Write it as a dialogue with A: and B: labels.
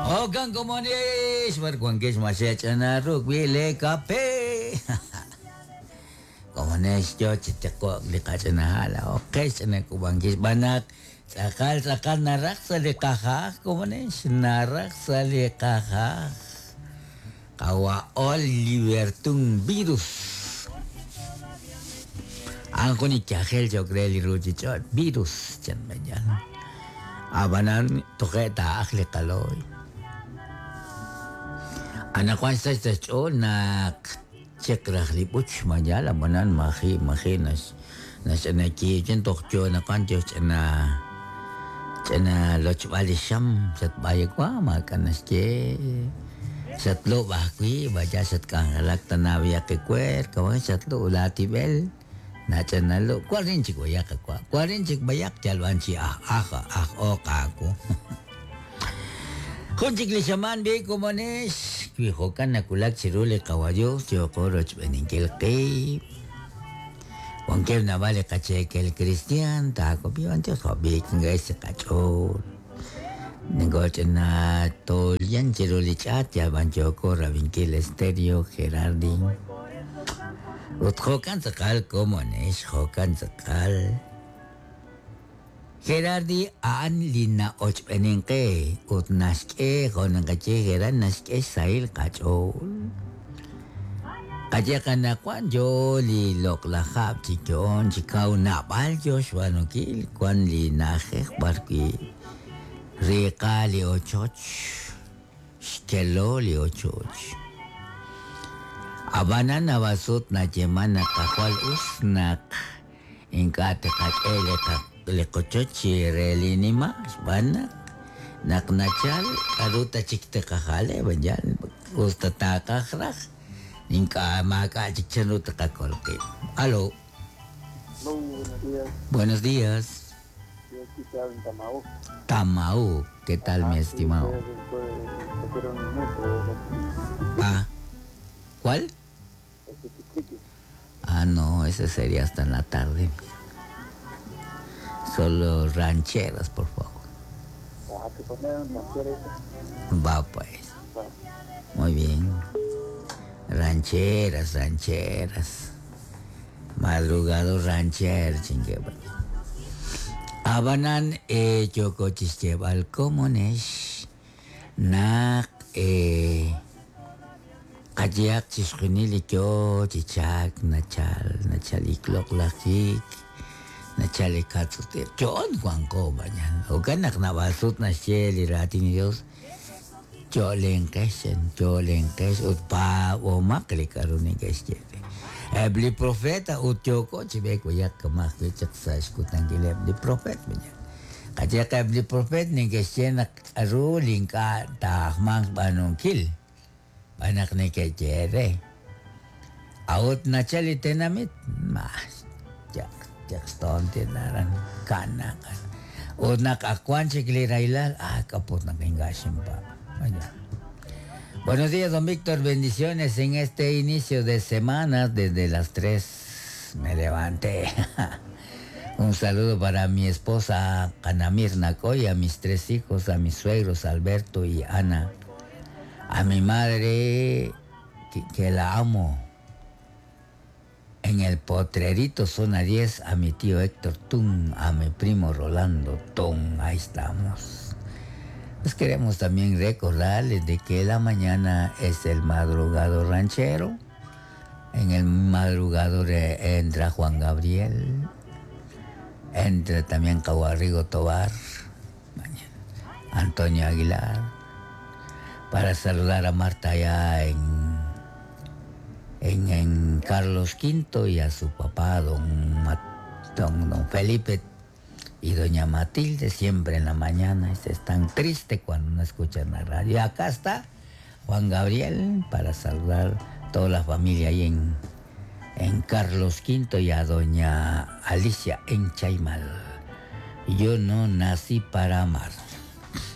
A: Okan komonex, b'ar wankex ma xe'ch'ana ruk' wi' le kape. Komonex yo chi tiqo'k li qach'ina ha' laa'o qe xch'ina k'ub'ankil xb'aan naq tz'aqal tz'aqal naraj sa' li qajaj komonex naraj sa' li qajaj. Qawa' Oliver Tun virus. A'an jun li yajel cho'q re li ruuchich'och' virus chan b'ayal. Ab'anan toje' taa'aj li qalooy. Anaqwan xsach sa' xch'ool naq chiq raj li b'uch mayal ab'anan maji' maji' nax naxch'ina kiichin toj yo anaqwan yo xch'ina ch'ina lochb'al li xam xatb'aywa maak'a' naxye xatlub' ajwi' vaya xatk'anjelak tana b'ayaq ewer kawan xatlub' laatib'el nach'inalub' warin chik b'ayaq qawa' warin chik b'ayaq yal b'an chi aj aj aj ooq aawu. Jun chik li xamaan b'i komonex wi jo'kan nawulak chiru li qawa Dios yooqo rochb'eeninkil qiib'. Wankeb' naab'al li qacheekel cristian taakob'i b'an Dios jo'b'i kingex li qach'ool. Ningoch'ina tolyan chiru li ch'aat yal b'an yooko rab'inkil Estéreo Gerardi. Ut jo'kan tz'aqal komonex jo'kan tz'aqal. Gerardi a'an li na'ochb'eenin qe ut naxk'e jo' naqaye Gerard naxk'e xsahil qach'ool. Qaye qanaqwan yo li loq'laj hab' chi yo'on chi kaw naab'al yo xb'aanunkil wan li na'ajej b'ar wi' riiqa li ochoch xkelo li ochoch. Ab'anan naab'al sut nayeeman naq qajwal us naq ink'a' tiqak'e li li qochoch chi re li nima' xb'aan naq naq nachal k'a'ru ta chik tiqajale b'ayal us ta taaqaj raj ink'a' maak'a' chik chanru tiqakol qib'. Aló.
B: Hello, buenos días.
A: Buenos días.
B: Yo he escuchado en Tamau.
A: Tamau, ¿qué tal mi
B: Ah, sí,
A: estimado?
B: ustedes pusieron mucho de eso.
A: Ah, ¿cuál?
B: Este chiquiqui.
A: Ah, no, ese sería hasta en la tarde. Solo rancheras, por favor.
B: Ajá, que ponieron rancheras.
A: Va pues.
B: Va.
A: Muy bien. Rancheras, rancheras. Madrugado rancher, chingue. Abanan yoko chixyeb'al komonex naq qayehaq chixjunil li yo chi chalk nachal nachal li loq'laj hiik nachal li katz'utiq yo'on wanko bayan jo'kan naq naab'al sut naxye li raatin li Dios yo'lenqex chan yo'lenqex ut paab'omaq li k'a'ru neke'xye re. Eb' li profeta ut yooko chi b'eek b'ayaq kama' ajwi' chaq sa' xkutankileb' li profet bayan. Qayehaq eb' li profet neke'xye naq k'a'ru li ink'a' taajmanq xb'aanunkil b'an naq neke'yehe re. A'ut nachal li tenamit ma yaq yaq xtoontil aran ka'naq. Ut naq ak wan chik li rahilal ah k'aput naq ink'a' xinpaab'. Vaya. Buenos días, don Víctor. Bendiciones en este inicio de semana. Desde las 3 me levanté. Un saludo para mi esposa Ana Mirna Coy, a mis 3 hijos, a mis suegros Alberto y Ana, a mi madre que la amo. En el Potrerito, zona 10, a mi tío Héctor Tun, a mi primo Rolando Tun. Ahí estamos. Pues queremos también recordarles de que la mañana es el madrugado ranchero. En el madrugador entra Juan Gabriel, entra también Caguarrigo Tobar, mañana, Antonio Aguilar, para saludar a Marta allá en Carlos V y a su papá, don Felipe y doña Matilde, siempre en la mañana. Es tan triste cuando no escuchan la radio. Y acá está Juan Gabriel para saludar a toda la familia ahí en Carlos V y a doña Alicia en Chaimal. Yo no nací para amar.